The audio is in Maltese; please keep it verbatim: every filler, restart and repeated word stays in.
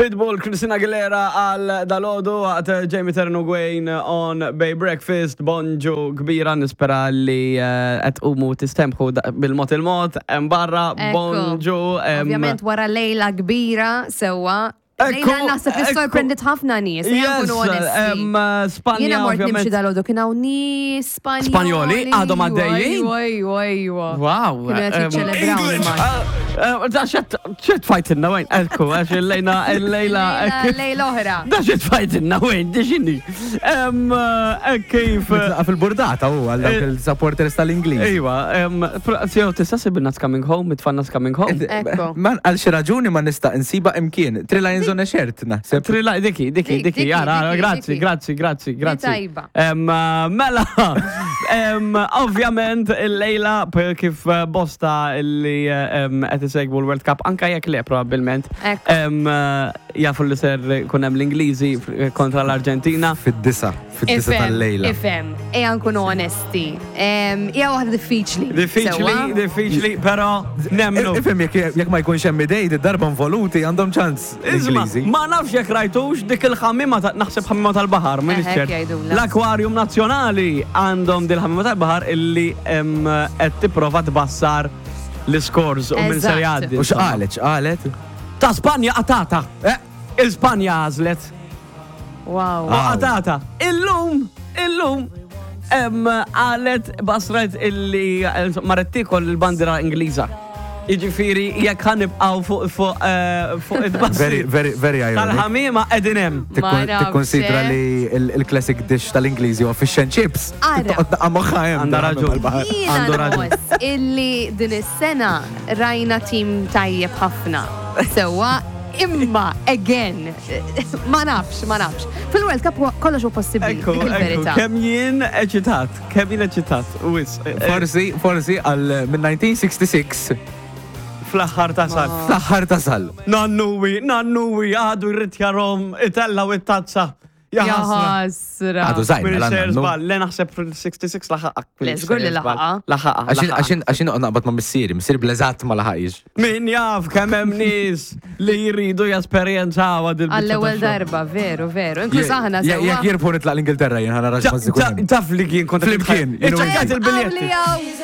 Pitbull, Christina Aguilera għal dalgħodu għat Jamie Terno Gwain on Bay Breakfast. Bonġu kbira, nispera li eh, qed umu tistemħu da- bil-mod il-mod. Hemm barra, Ekku. bonġu. em, Ovvjament wara lejla kbira, sewwa. Ekku, Lejla naħseb li ekku. sorprendit ħafna nies, ejja Yes, nkunu onesti. em, Spanja, Jiena mort nimxi ovvjament. dalgħodu, kien hawn nies Spanjoli. Spanjoli, għadhom għaddejjin? Ejwa, ejwa, ejwa. Wow. Kienu qed em, jiċċelebraw il-match. Eh, Da xet xet fajtinna wejn, ekku, għax il-lejna, il-lejla. Lejla lejla oħra. Da xet fajtinna wejn, di xini. Em, eh, Kif. Mitlaqa fil-burdata u għal dawk Eh, il-supporters tal-Ingliż. Iwa, em, pro- tista' sibna coming home, it-tfanna coming home. Ekku. Man, għal xi raġuni ma nista' insiba imkien. Three Lions on a shirt, naħseb. Trilla, diki, diki, Dik, diki, diki, jara, diki, grazzi, diki. grazzi, grazzi, grazzi. tajba. Em, uh, Mela, em, ovvjament il-lejla p- kif uh, bosta illi em, qed isegwu l-World Cup, anka jekk le probabbilment, Ekku. em, uh, jafu li ser kun hemm l-Ingliżi f- kontra l-Arġentina. Fid-disa, fid-disa Ifhem, tal-lejla. ifhem, ejja nkunu onesti. Em, Hija waħda diffiċli. Diffiċli, sewwa? diffiċli, però nemnu. Ifhem jekk jekk ma jkunx hemm idej, id-darba involuti għandhom ċans Isma, l-Ingliżi. ma nafx jekk rajtux dik il-ħamima ta' naħseb ħamima tal-baħar, minn Eħe, jgħidulha. L-Aquarium Nazzjonali għandhom dil-ħamima tal-baħar illi em, qed tipprova tbassar l-scores u minn ser Eżatt. jgħaddi. U x'qalet, x'qalet? Ta' Spanja qatata. Eh, Il-Spanja għażlet. Wow. U qatata. Illum, illum, em, qalet basret illi eh, marret tiekol il-bandira Ingliża. Jiġifieri jekk ħa nibqgħu fuq fuq eh, fuq it-bassir Very, very, very ironic. tal-ħamima qegħdin hemm. Ma nafx, Tikkonsidra eh. li il- il-classic dish tal-Ingliżi huwa fish and chips. Ara. Toqgħod daqqa moħħa hemm. Għandha raġun. mal-baħar. Jiena Għandu raġun. nħoss illi din is-sena rajna tim tajjeb ħafna. Sewwa, imma, again, ma nafx, ma nafx. Fil-World Cup huwa- kollox huwa possibbli, Ekku, dik ekku, il-verità. kemm jien eċitat, kemm jien eċitat, wis. eh, Forsi, forsi għal minn elf disa' mija u sitta u disgħin Fl-aħħar tasal. fl-aħħar tasal. Nannuwi, nannuwi, għadu jrid jarahom, itellaw it-tazza. Ja Ja ħasra. ħasra. Għadu żgħir, Min mela ser nannu. żball, le naħseb fil-sitta u disgħin laħaq. Le, żgur li laħaqha. Laħaqha. Għaxin, għaxin, għaxin noqgħod naqbad ma' missieri, missieri bl-eżatt ma laħaqix. Min jaf kemm hemm nies li jridu jesperjenzaw għad il Għall-ewwel darba, veru, veru. Inkluż aħna Jekk sewwa. jekk jirbħu nitlaq l-Ingilterra jien ħana raġ ma Taf li kien kont Flimkien, you know. Iċċekkjat il-biljetti. Għawli